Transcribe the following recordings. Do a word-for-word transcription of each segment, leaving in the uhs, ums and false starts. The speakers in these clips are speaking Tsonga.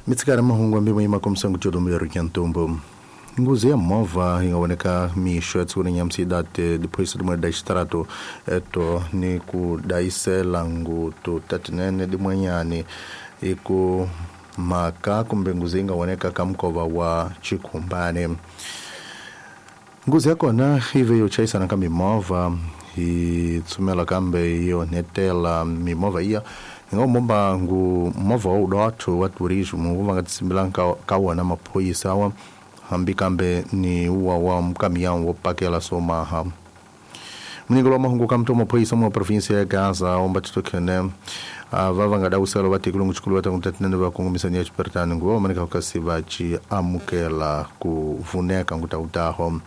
Mitsikara mahungu ambi mwima komsangu chodombe rukiantombo. Nguzi ya movha ingaoneka mixo ya tsiku nyamsi date depois de da extrato eto ni ku daisela ngutu tatinene dimwenyani iku maka kumbe nguzi ingaoneka kamkova wa chikumbane. Nguzi yakona ive yochaisana ka mimovha hi tsumela kambe yo netela mimovha iya ingomomba ngu movha wa udotho wa turismo wu va nga tisimbilanga ka, ka wona maphorisa wa hambi kambe ni uwa wa mukamiyawu wo pakela somaha. Munyikelo wa mahungu ka mtomo maphorisa mu provinsia ya Gaza omba titokhene va va nga dawuselo va tekile ngutshikulu va tangu va kongomisani ya xipertani nguva va maneka kasi va ci amukela ku vuneka ngutawutaho.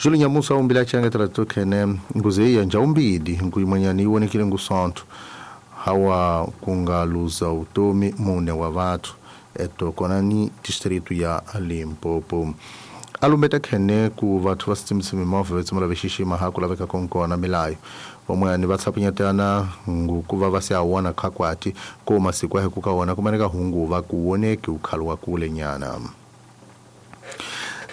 Julu Nyamusa umbila changetela titokhene nguze ya njaumbidi nguyimanyani yi vonekile ngusonto hawa kungaluza utomi mune wa vathu eto kona ni distrito ya Limpopo. Alumbeta khene ku vathu va sitsimisa mimovha va tshama va xixima ha ku laveka konkona milayo van'wani va tshapinyetana ngukuva va se a wona khakwati ko masiku ya ku ka wona kumaneka hungu va ku woneki ukhalo wa kule nyana.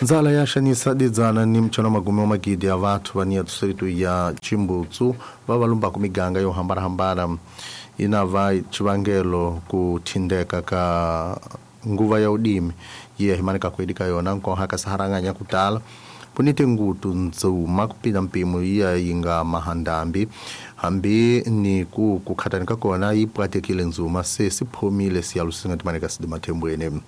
Ndzala ya xanisa didzana ni mchana magume wa magidi ya vathu va ni ya distrito ya Chimbutsu va va lumbaku miganga yo hambanahambana ina va xivangelo ku thindeka ka nguva ya udimi ye himaneka kwedi ka yona nkoha ka saharanganya kutala punite ngutu ndzuma kupinda mpimo iya yinga mahandambi hambi ni ku kukhatani ka kona yi pwatekile ndzuma se siphomile siyalusinga timaneka sidimathembweni.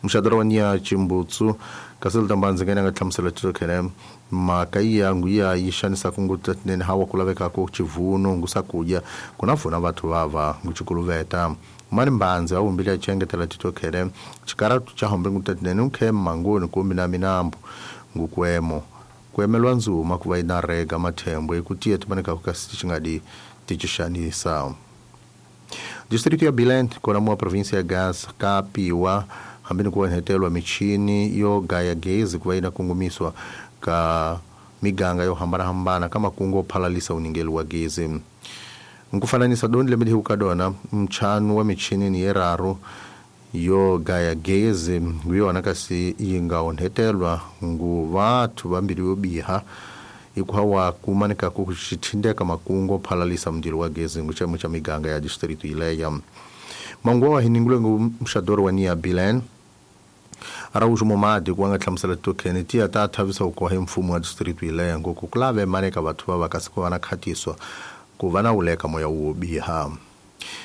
Mxadoro wa nia Chimbutsu kasel tambanzi ngene nga hlamusela titokhene mhaka iya nguya yi xanisa kunguta tinene hawa ku laveka ku chivuno ngusakudya kuna vona vathu vava nguchikuluveta mani mbanzi a wumbile a chengetela titokhene xikaratu cha hombe nguta tinene ukhe mangoni kumbe na minambu ngukwemo kwemelwa ndzuma ku va yi na rega mathembo eku tiya timaneka ku kasi xi nga di tichixanisa. Distrito ya Bilent kona mua província ya Gaza kapiwa hambi ni ku onhetelwa michini yo gaya gezi ku va yi na kongomiswa ka miganga yo hambanahambana ka makungu yo phalalisa uningeli wa gezi. Nkufananisa doni lembe ka dona mchanu wa michini ni yeraru yo gaya gezi nguyona kasi yi nga onhetelwa ngu vathu vambiri yo biha ikuhawa kumanika ku xithindeka makungu phalalisa mndilo wa gezi nguchemo cha miganga ya distrito ileya. Mangu wa hiningule ngu mxadoro wa nia Bilen Araújo Momadi ku nga hlamusela tokhene tiya ta thavisa ku koha mfumo wa distrito ileya ngoku ku lave maneka vathu va kasi ku va na khatiswa ku va na uleka moya wo biha.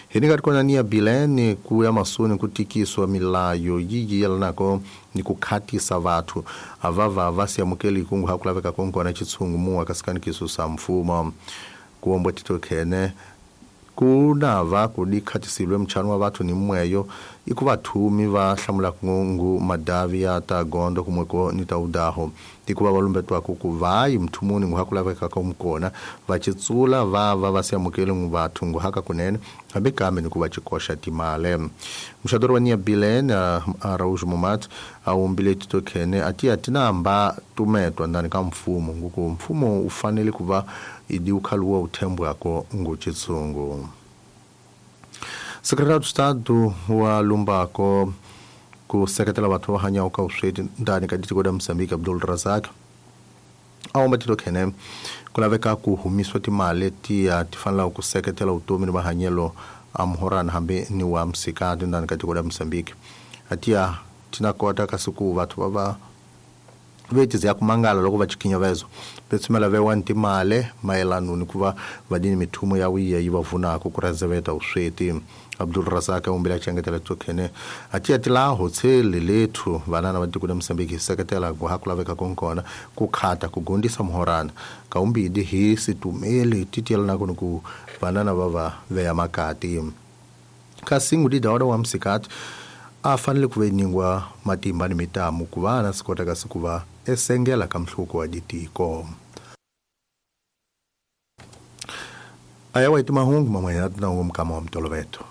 Hi ni nga ri kona ni ya Bilene ku ya masoni ku tikiswa milayo yi yelanako ni ku khatisa vathu a va va va si amukeli kungu ha ku laveka konkona xitshungu muwa kasi kanikiso sa mfumo ku ombo titokhene ku na va ku di khatisile mchano wa vathu ni mweyo iku vathumi va hlamula ngu madavi ya ta gondo kumweko ni ta udaho tikuva va lumbetwa ku ku vayi mthumuni ngu ha ku laveka ka mukona va chitsula va va va si amukeli ngu vathu ngu haka kunene hambi kambe ni ku va chikoxa timale. Mxadoro wa nia Bilene Araújo Momat a wumbile titokhene a ti a tinamba tumetwa ndani ka mfumo nguku mfumo u fanele ku va idi ukhaluwa uthembwako ngu chitsungu. Secretário de Estado wa Lumbako ku seketela vathu va hanyaho ka vusweti ndani ka tiko ra Mozambique Abdul Razak a womba titokhene ku laveka ku humiswa timali tiya ti fanelaka ku seketela vutomi ni mahanyelo a muhorana hambi ni wa msikati ndani ka tiko ra Mozambique a tiya ti na kota kasi ku vathu va va vetizi ya kumangala loko va chikhinyavezo vetsumela vewa timale mayelano ni ku va va dini mithumo ya wiya yi va vunaka ku rezeveta vusweti. Abdul Razak a umbile a chengetela tokhene a tiya tilaho tshele lethu vanana va tiko ra Mozambique hi seketela ku ha ku laveka konkona ku khata ku gondisa muhorana ka umbidi hi situmeli ti tiyelanaka ni ku vanana va va veya makati kasi ngudi dawada wa msikati a fanele ku veningwa matimba ni mitamu ku va na swi kota kasi ku va esengela ka mhluko wa ditiko. Aya wa itimahungu mamwe na tinangu mkama wa mtoloveto.